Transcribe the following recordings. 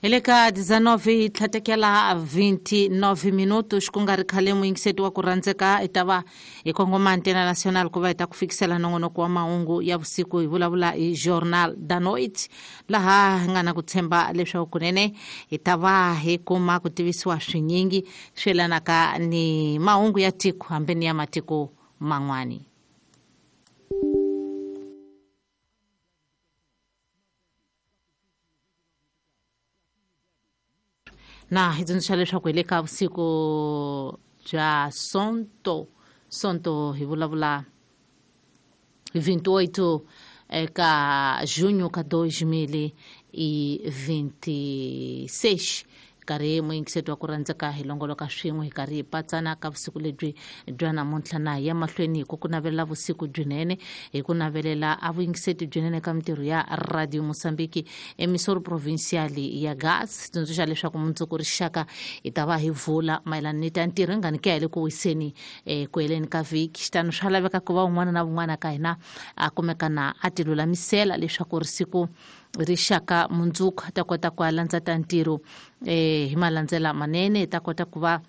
Hi le ka 19 tlhatekela 29 minutos ku nga ri khale muyingiseti wa ku rhandzeka hi ta va hi kongoma Antena Nacional ku va hi ta ku fikisela nongonoko wa mahungu ya vusiku, hi vulavula hi Jornal da Noite, laha hi nga na ku tshemba leswaku kunene hi ta va hi kuma ku tivisiwa swinyingi swi yelanaka ni mahungu ya tiko hambi ni ya matiko man'wani. Na hi tsundzuxa leswaku hi le ka vusiku bya Sonto, Sonto hi vulavula hi 28 eka junho ka 2026, karhi muyingiseti wa ku rhandzeka hi longoloka swin'we hi karhi hi patsana ka vusiku lebyi bya namuntlha. Na hi ya mahlweni hi ku ku navelela vusiku byinene, hi ku navelela a vuyingiseti byinene ka mintirho ya Radio Mozambique emisoro provincial ya Gas. Tsundzuxa leswaku mundzuku rixaka hi ta va hi vula mayelana ni ta ntirho hi nga ni ke ya le ku wiseni ku heleni ka vhiki. Xitano swa laveka ku va un'wana na un'wana ka hina a kumeka na a ti lulamisela leswaku risiku rixaka mundzuku a ta kota ku landza ta ntirho hi malandzela manene, hi ta kota ku va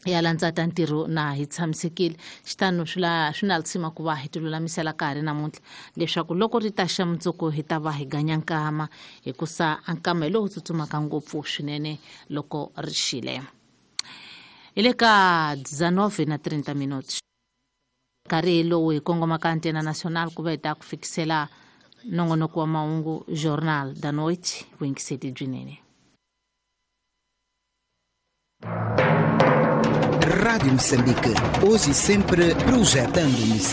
ya landza ta ntirho na hi tshamisekile. Xitano swi na lisima ku va hi ti lulamisela ka ha ri namuntlha leswaku loko ri ta xa mundzuku hi ta va hi ganya nkama, hikusa a nkama hi lowu tsutsumaka ngopfu swinene loko ri xile. Hi le ka 19 na 30 minutos, nkarhi lowu hi kongomaka Antena Nacional ku va hi ta ku fikisela nongonoko wa mahungu Jornal da Noite. Vuyingiseti byinene. Rádio Moçambique, hoje e sempre projetando Moçambique.